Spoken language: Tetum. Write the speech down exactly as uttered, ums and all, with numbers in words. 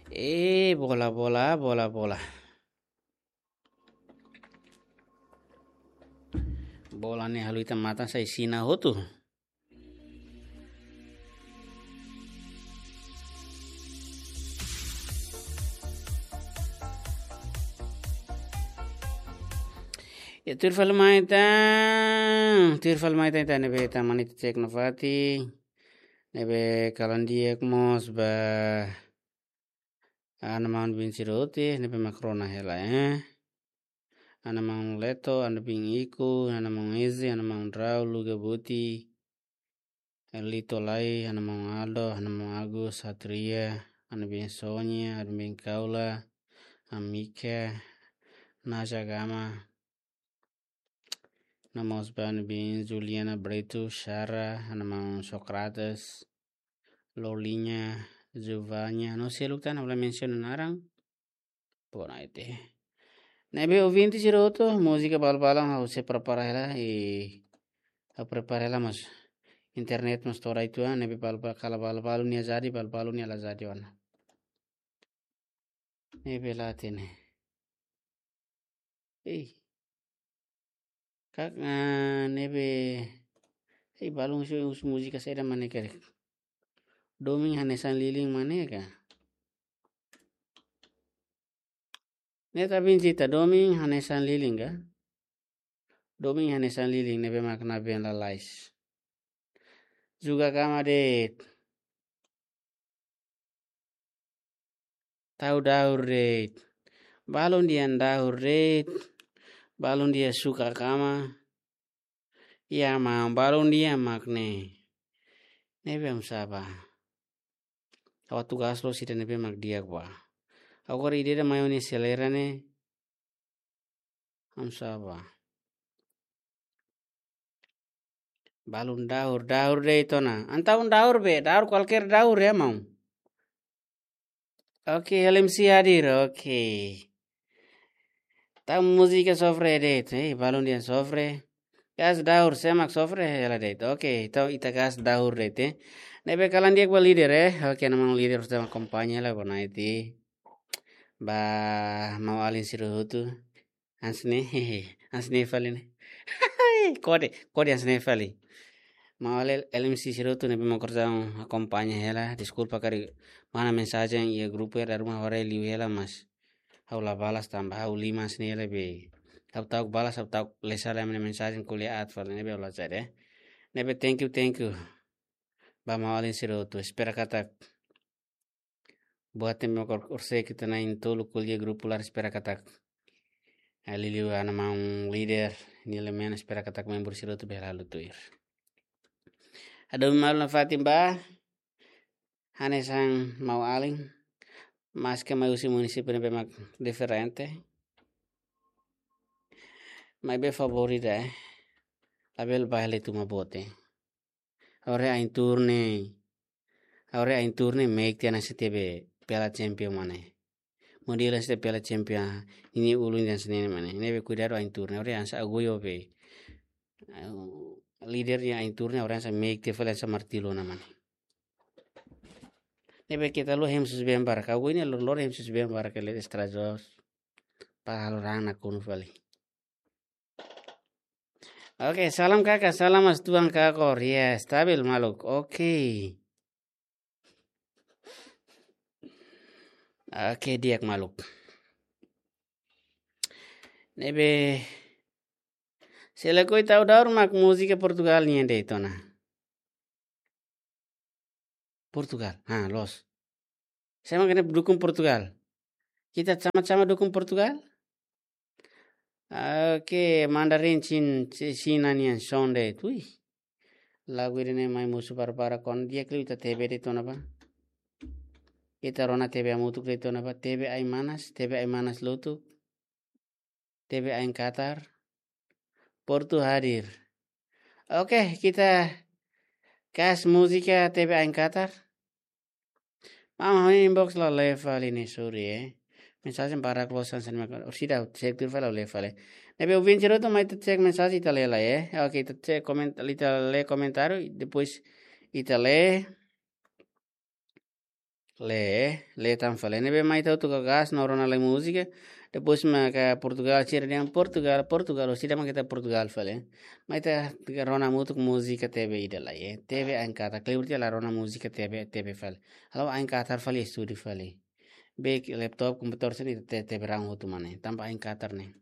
Eh, bola, bola, bola, bola. Bola ne'e halo ita matan sai sina hotu. Ya, tuir fali mai tan, tuir fali mai tan, ita ne'ebé ita mani ita cek nafatin. Ne'ebé kalan di'ak mós ba ana maun bin sira hotu, ne'ebé mak rona hela, eh. Ana maun Leto, ana bin Iku, ana maun Eze, ana maun Rau, Luga Buti, Lito Lai, ana maun Aldo, ana maun Agus, Satria, ana bin Sonia, ana bin Kaula, Amika, Naja Gama, Namos Ban bin Juliana Bretu, Shara, ana maun Socrates, Lolinya, Juvanya, no seluk tan, ha'u la mensiona naran. Pona ite. Ne'ebé ouvinte sira hotu, múzika balu-balu ha'u sei prepara hela, i ha'u prepara hela mas internet mas tora itu, ah, ne'ebé balu-balu kala balu-balu nia jadi, balu-balu nia la jadi ona. Ne'ebé la hatene. Ei. Kak, ah, ne'ebé. Ei, balun husu, husu múzika saida mak ne'e karik. Domin hanesan lilin mak ne'e ka. Ne'e ta bin cita domin hanesan lilin ka. Domin hanesan lilin ne'ebé mak nabeen lalais. Juga kama de'it. Tau daur de'it. Balun dehan daur de'it. Balun dehan suka kama. Ya, maun, balun dehan mak ne'e. Ne'ebé hamsa ba. Ha'u atu gas loos ida ne'ebé mak di'ak ba. Agora ida-idak mai ó-nia selera ne'e. Hamsa ba. Balun daur, daur de'it ona. Entaun daur be, daur kualkér daur ya, maun. Oke, L M C hadir, oke. Tau múzika sofre de'it, eh, balun dehan sofre. Gas daur, sé mak sofre hela de'it. Oke, entaun ita gas daur de'it, eh. Ne'ebé kalan di'ak ba líder, eh. Oke, ana maun líder sudah akompaña hela bona iti. Ba maun-alin sira hotu. Hanesan ne'e, hanesan ne'e fali ne'e. Kode, kode hanesan ne'e fali. Maun L-, L M C sira hotu ne'ebé mak orsida akompaña hela. Deskulpa karik manda mensajen iha grupu ya, dala ruma haree liu hela mas ha'u la balas tanba ha'u liman hanesan ne'e hela be. Ha'u ta'uk balas, ha'u ta'uk lesa lai mensajen ko'alia aat fali ne'ebé ha'u la cari, eh. Ne'ebé thank you, thank you. Ba maun-alin sira hotu, espera katak buat ne'ebé mak orsida ita na'in-tolu ko'alia grupu laran, espera katak. Liuliu ana maun líder, nia la menos, espera katak membru sira hotu bele halo tuir. Atu malu nafatin ba, hanesan maun-alin, maske mai husi munisípiu ne'ebé mak diferente. Maibé favór ida, eh. Labele baile tuma bote. Agora ain-tuur ne'e. Agora ain-tuur ne'e meik tiha hanesan tebe Piala Champion mak ne'e. Modelu hanesan tebe Piala Champion. Ninia ulun hanesan ne'e mak ne'e. Ne'ebé kuidadu ain-tuur ne'e. Agora hanesan agora be. Líder nia ain-tuur ne'e agora hanesan meik tiha fali hanesan martilu ona mak ne'e. Ne'ebé keta lori hemu susubeen barak. Agora ne'e lori, lori hemu susubeen barak ke le estrajos. Para halo raan nakonu fali. Oke, salam kakak, salam mas tuan kakor. Ya, stabil maluk. Oke. Oke, di'ak maluk. Ne'ebé, se lakohi tau daur mak múzika Portugal nian de'it ona. Portugal. Ha, loos. Sé mak ne'e dukung Portugal? Kita sama-sama dukung Portugal? Oke, Mandarin Chin, Ci-, Cina nian son de'it. Ui. Lagu ida-ne'e mai mosu para-para kon di'ak liu ita tebe de'it ona ba. Ita rona tebe hamutuk de'it ona ba. Tebe ain manas, tebe ain manas lotuk. Tebe ain katar. Portu hadir. Oke, kita kas múzika tebe ain katar. Maun, ha'u-nia inbox la lee fali ne'e, sorry, eh. Mensajen barak loos hanesan ne'e mak, orsida ha'u cek tuir fali ha'u lee fali. Ne'ebé ouvinte sira hotu mai ita cek mensajen ita lee lai, eh. Oke, ita cek komen-, ita lee komentáriu, depois ita lee. Lee, lee tan fali. Ne'ebé mai ita hotu ka gas no rona lai múzika. Depois mak Portugal, sira dehan Portugal, Portugal, sira mak ita Portugal fali. Mai ita rona hamutuk múzika T V ida lai, eh. T V ain katar, kleur tiha la rona múzika T V, T V fali. Halo ain katar fali, estudu fali. Be laptop, komputadór sira-ne'e ita T V raan hotu mak ne'e. Tanba ain katar ne'e.